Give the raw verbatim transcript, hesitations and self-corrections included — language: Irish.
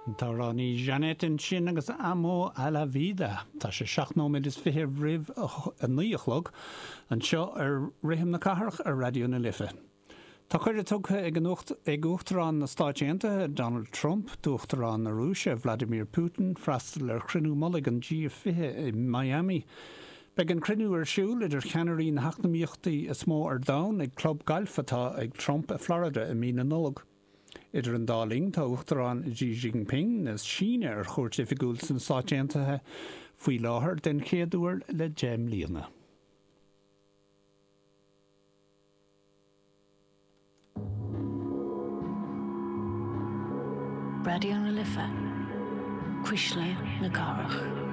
An t-amhránaí Jeanette ansin agus Amo a la Vida. Tá sé seacht nóiméad is fiche roimh a naoi a chlog anseo ar Rithim na Cathrach ar Raidió na Life. Tá cuireadh tugtha ag an ag Uachtarán na Stáit Aontaithe Donald Trump d'Uachtarán na Rúise Vladimir Putin freastal ar chruinniú mullaigh an G fiche i Miami. Beidh an cruinniú ar siúl idir cheannairí na heacnamaíochtaí is mó ar domhan ag club gailf atá ag Trump i Florida i mí na Nollag. Idir an dá linn tá Uachtarán Xi Jinping na Síne ar chuairt oifigiúil sna Stáit Aontaithe faoi láthair den chéad uair le deich mbliana. Raidió na Life, Cuisle na Cathrach.